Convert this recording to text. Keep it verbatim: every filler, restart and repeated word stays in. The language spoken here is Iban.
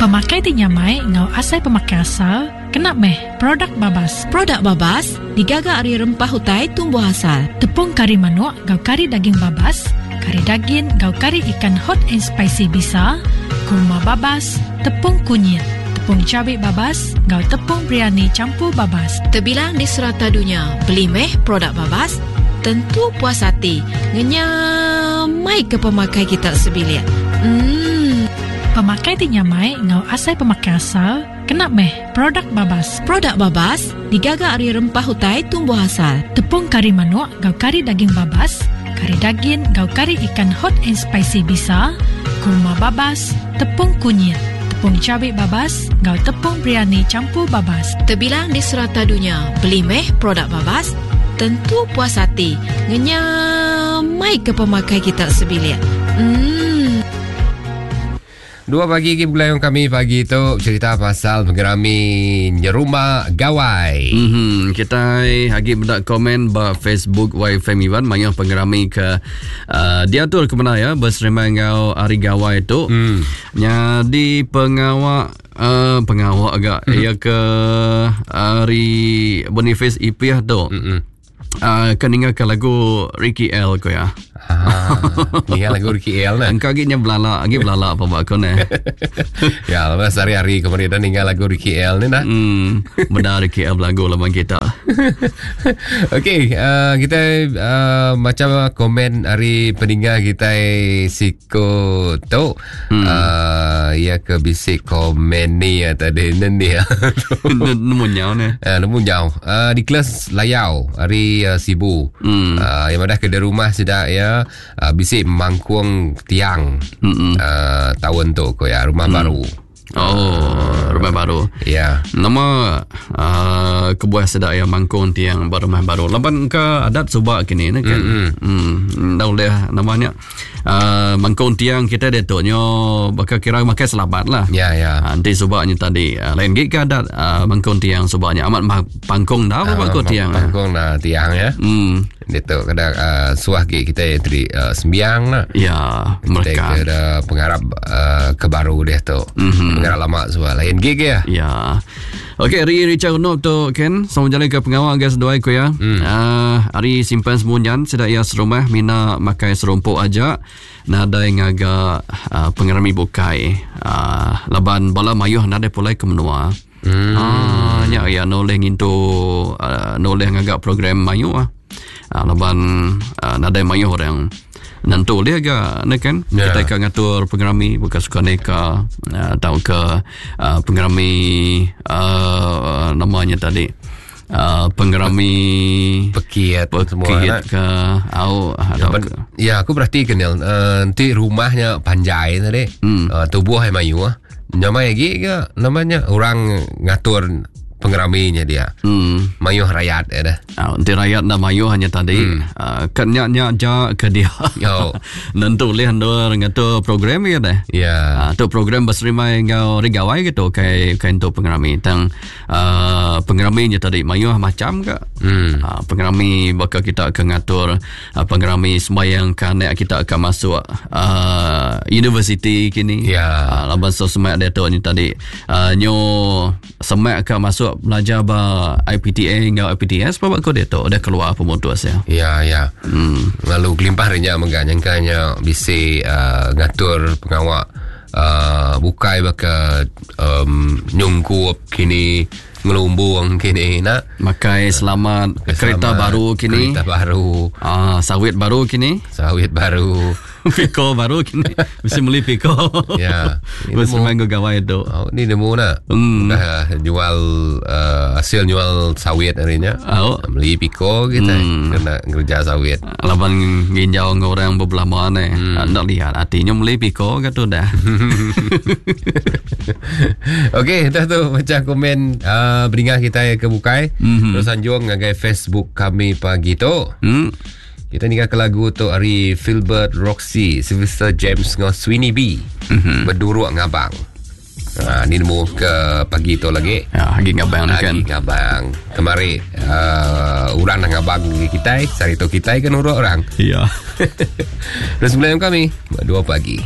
Pemakai ti nyamai ngau asai pemakai asal, kena meh produk babas. Produk babas digaga ari rempah utai tumbuh asal. Tepung kari manuk ngau kari daging babas, kari daging ngau kari ikan hot and spicy bisa, kurma babas, tepung kunyit, tepung cabai babas ngau tepung biryani campur babas. Terbilang di serata dunia, beli meh produk babas, tentu puas hati. Ngenyamai ke pemakai kita sebilik. Hmm. Pemakai ti nyamai ngau asai pemakai asal, kena meh produk babas. Produk babas digaga ari rempah utai tumbuh asal. Tepung kari manuk ngau kari daging babas, kari daging ngau kari ikan hot and spicy bisa, kurma babas, tepung kunyit, tepung cabai babas ngau tepung biryani campur babas. Terbilang di serata dunia, beli meh produk babas, tentu puas hati. Ngenyamai ke pemakai kita sebilik. Hmm. Dua pagi ke bulan kami pagi tu cerita pasal pengerami nyerumba gawai. Mm-hmm. Kita lagi benda komen ba Facebook Y F M Iban maya pengerami ke uh, diatur ke mana ya berserima ngau hari gawai tu. Mm. Jadi pengawak uh, pengawak agak mm. ya ke hari Boniface Ipiah tu. Mm-hmm. Uh, kan ingat ke lagu Ricky L ko ya. Ah, ni lagu Ricky L nah. Engkau lagi nya belala, lagi belala apa bak kau ne. Ya, lepas hari-hari kemarin dah ninggal lagu Ricky L ni nah. Hmm, benar Ricky L lagu lawan kita. Okey, uh, kita uh, macam komen hari peninggal kita siko tu. Hmm. Uh, ya ke bisik komen ni ya tadi ni. Nemu nyau ni. Uh, nemu nyau. Uh, di kelas Layau hari uh, Sibu. Hmm. Uh, yang madah ke rumah sudah ya uh, bisik mangkung tiang uh, tahun tu ko ya rumah mm. baru. Oh, rumah baru. Ya. Nama uh, kebuah sedak ya mangkung tiang rumah baru. Laban ke adat subak kini ne kan. Hmm. Dah boleh namanya uh, mangkung tiang kita dia tu nyo bakal kira makai selabat lah. Ya ya. Uh, nanti subaknya tadi uh, lain gig ke adat uh, mangkung tiang subaknya amat pangkung dah apa mangkung tiang. Pangkung dah tiang ya. Hmm. Dia tu kadang uh, suah gig kita dari uh, sembiang lah. Ya, mereka kita ada pengharap uh, ke baru dia tu. Mm-hmm. Pengharap lama suah lain gig ya. Ya. Okey, hari Richard Unop tu Ken, sama jalan ke pengawal guys dua ko ya. Mm. Uh, hari simpan semunyan sedak ia serumah mina makai serumpuk aja. Nadai ngaga uh, pengerami bukai. Uh, laban bala mayuh nadai pulai ke menua. Mm. Ah, nya ya noleh ngintu uh, noleh ngagak program mayu ah. Uh, laban uh, nadai mayuh orang nentu dia agak ne kan yeah. Kita akan ngatur pengerami bukan suka neka uh, atau ke uh, pengerami uh, namanya tadi uh, pengerami pekiat semua pekiat ke au atau ke. Ya aku berarti kenal uh, nanti rumahnya panjai tadi hmm. uh, tubuh mayu ah nyamai lagi ke namanya orang ngatur pengeraminya dia. Hmm. Mayuh rakyat ya dah. Ah, nanti rakyat dah mayuh hanya tadi. Hmm. Uh, kan nyak nyak ja ke dia. Oh. Nentu leh andur ngatur program ya dah. Ya. Uh, tu program berserimai ngau rigawai gitu kai kai untuk pengerami tang uh, pengeraminya tadi mayuh macam ke. Hmm. Uh, pengerami bakal kita akan ngatur uh, pengerami sembahyang kanak kita akan masuk uh, universiti kini. Ya. Uh, laban so semak dia tu ni tadi. Uh, nyo semak ke masuk belajar ba I P T A ngau I P T S apa ko dia tu dah keluar pemutus ya. Ya ya. Hmm. Lalu kelimpah rinya mengganyangkannya bisi uh, ngatur pengawak uh, bukai baka um, nyungkup kini ngelumbuang kini nak makai selamat makai kereta selamat, baru kini kereta baru ah sawit baru kini sawit baru piko baru kini mesti beli piko ya mesti main gawai tu oh, ni nemu nak hmm. Dah jual uh, hasil jual sawit harinya oh. Beli piko kita hmm. Kena kerja sawit laban nginjau orang berbelama ni hmm. Nak lihat hatinya beli piko kata dah. Okey, dah tu macam komen uh, beringat kita ke bukai. Mm-hmm. Terus anjung ngagai Facebook kami pagi tu. Mm. Kita nikah ke lagu tu hari Philbert Roxy, Sylvester James ngau Sweeney B. Mm-hmm. Berduruk ngabang. Ha, ni nemu ke pagi tu lagi. Ya, lagi ngabang ni kan. Lagi ngabang. Kemari uh, orang nak ngabang kita, sari tu kita kan urut orang. Ya. Terus sebelum kami dua pagi.